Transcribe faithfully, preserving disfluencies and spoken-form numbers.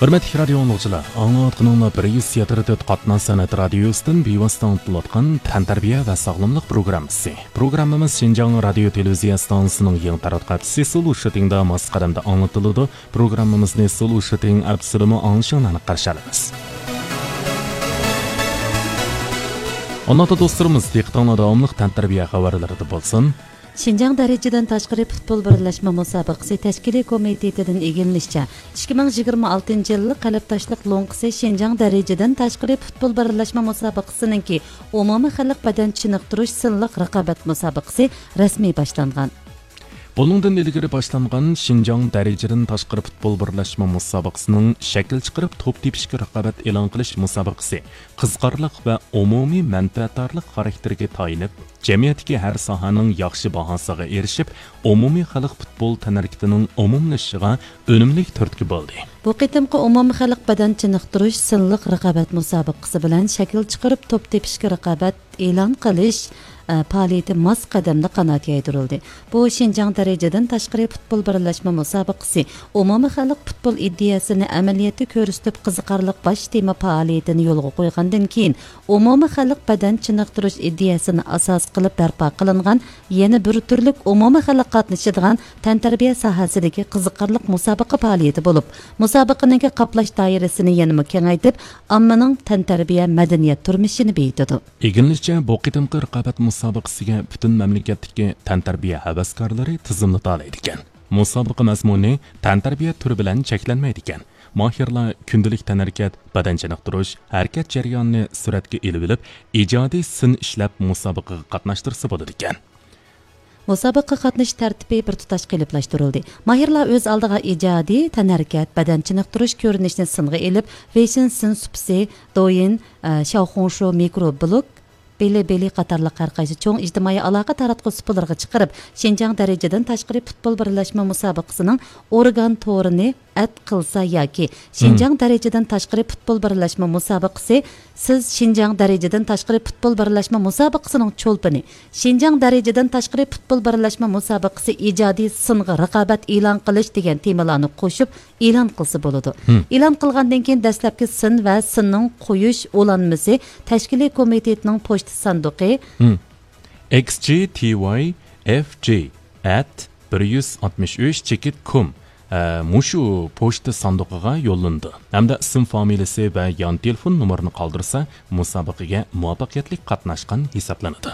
ھۆرمەتلىك رادىيو ئاڭلىغۇچىلار، ئاڭلاۋاتقىنىڭلار بىر يۈز يەتتە تۆت قاتناش سەنئەت رادىيوسىدىن بىۋاسىتە ئاڭلىتىلىۋاتقان تەنتەربىيە ۋە ساغلاملىق پروگراممىسى. پروگراممىمىز شىنجاڭ رادىيو تېلېۋىزىيە ئىستانسىسىنىڭ يېڭى تاراتقۇ ئەپچىسى سولو شىتىڭدا ماس قەدەمدە ئاڭلىتىلىدۇ. پروگراممىمىزنى سولو شىتىڭ ئەپچىسىدىمۇ ئاڭلىشىڭلارنى قارشى ئالىمىز. ئانا دوستلىرىمىز، دىققىتىڭلار داۋاملىق تەنتەربىيە خەۋەرلىرىدە بولسۇن. شىنجاڭ دەرىجىدىن تاشقىرى پۇتبول بىرلەشمە مۇسابىقىسى تەشكىلىي كومىتېتىدىن ئىگىلىنىشىچە، ئىككى مىڭ يىگىرمە ئالتىنچى يىللىق قەلبداشلىق لوڭقىسى شىنجاڭ دەرىجىدىن تاشقىرى پۇتبول بىرلەشمە مۇسابىقىسىنىڭكى ئومۇمىي خەلق بەدەن چېنىقتۇرۇش سىنلىق رىقابەت مۇسابىقىسى رەسمىي باشلانغان. بۇنىڭدىن ئىلگىرى باشلانغان شىنجاڭ دەرىجىدىن تاشقىرى پۇتبول بىرلەشمە مۇسابىقىسىنىڭ شەكىل چىقىرىپ توپ تېپىشكە رىقابەت ئېلان قىلىش مۇسابىقىسى قىزىقارلىق ۋە ئومۇمىي مەنپەئەتدارلىق خاراكتېرىگە تايىنىپ، جەمئىيەتتىكى ھەر ساھەنىڭ ياخشى باھاسىغا ئېرىشىپ، ئومۇمىي خەلق پۇتبول تەنھەرىكىتىنىڭ ئومۇملىشىشىغا ئۈنۈملۈك تۈرتكە بولدى. بۇ قېتىمقى ئومۇمىي خەلق بەدەن چېنىقتۇرۇش سىنلىق رىقابەت مۇسابىقىسى بىلەن شەكىل چىقىرىپ توپ تېپىشكە رىقابەت ئېلان قىلىش، ئە، پائالىيىتى ماس قەدەمدە قانات يايدۇرۇلدى. بۇ شىنجاڭ دەرىجىدىن تاشقىرى پۇتبول بىرلەشمە مۇسابىقىسى ئومۇمىي خەلق پۇتبول ئىدىيەسىنى ئەمەلىيەتتە كۆرسىتىپ قىزىقارلىق باش تېما پائالىيىتىنى يولغا قويغاندىن كېيىن، ئومۇمىي خەلق بەدەن چېنىقتۇرۇش ئىدىيەسىنى ئاساس قىلىپ بەرپا قىلىنغان يەنە بىر تۈرلۈك ئومۇمىي خەلق قاتنىشىدىغان تەنتەربىيە ساھەسىدىكى قىزىقارلىق مۇسابىقە پائالىيىتى بولۇپ، مۇسابىقىنىڭكى قاپلاش دائىرىسىنى يەنىمۇ كېڭەيتىپ، ئاممىنىڭ تەنتەربىيە مەدەنىيەت تۇرمۇشىنى بېيىتىدۇ. ئىگىلىنىشىچە، بۇ قېتىمقى رىقابەت مۇسابىقىسىگە پۈتۈن مەملىكەتتىكى تەنتەربىيە ھەۋەسكارلىرى تىزىملىتالايدىكەن. مۇسابىقە مەزمۇنى تەنتەربىيە تۈرى بىلەن چەكلەنمەيدىكەن. ماھىرلار كۈندىلىك تەنھەرىكەت، بەدەن چېنىقتۇرۇش، ھەرىكەت جەريانىنى سۈرەتكە ئېلىۋېلىپ، ئىجادىي سىن ئىشلەپ مۇسابىقىگە قاتناشتۇرسا بولىدىكەن. مۇسابىقىگە قاتنىشىش تەرتىپى بىر تۇتاش قېلىپلاشتۇرۇلدى. ماھىرلار ئۆز ئالدىغا ئىجادىي تەنھەرىكەت، بەدەن چېنىقتۇرۇش كۆرۈنۈشىنى سىنغا ئېلىپ، فېشن سىن سۇپىسى، دويىن، ئە، شياۋخۇڭشۇ مىكرو بلوگ، بىلىبىلى قاتارلىق ھەر قايسى چوڭ ئىجتىمائىي ئالاقە تاراتقۇ سۇپىلىرىغا چىقىرىپ، شىنجاڭ دەرىجىدىن تاشقىرى پۇتبول بىرلەشمە مۇسابىقىسىنىڭ ئورگان تورىنى ئەت قىلسا ياكى شىنجاڭ دەرىجىدىن تاشقىرى پۇتبول بىرلەشمە مۇسابىقىسى، سىز شىنجاڭ دەرىجىدىن تاشقىرى پۇتبول بىرلەشمە مۇسابىقىسىنىڭ چولپىنى، شىنجاڭ دەرىجىدىن تاشقىرى پۇتبول بىرلەشمە مۇسابىقىسى ئىجادىي سىنغا رىقابەت ئېلان قىلىش دېگەن تېمىلارنى قوشۇپ ئېلان قىلسا بولىدۇ. ئېلان قىلغاندىن كېيىن دەسلەپكى سىن ۋە سىننىڭ قويۇش ئۇلانمىسى تەشكىلىي كومىتېتنىڭ پوچتا ساندۇقى، XGTYFJAT163.com، ئە، مۇشۇ پوچتا ساندۇقىغا يوللىنىدۇ ھەمدە ئىسىم فامىلىسى ۋە يان تېلېفون نومۇرىنى قالدۇرسا، مۇسابىقىگە مۇۋەپپەقىيەتلىك قاتناشقان ھېسابلىنىدۇ.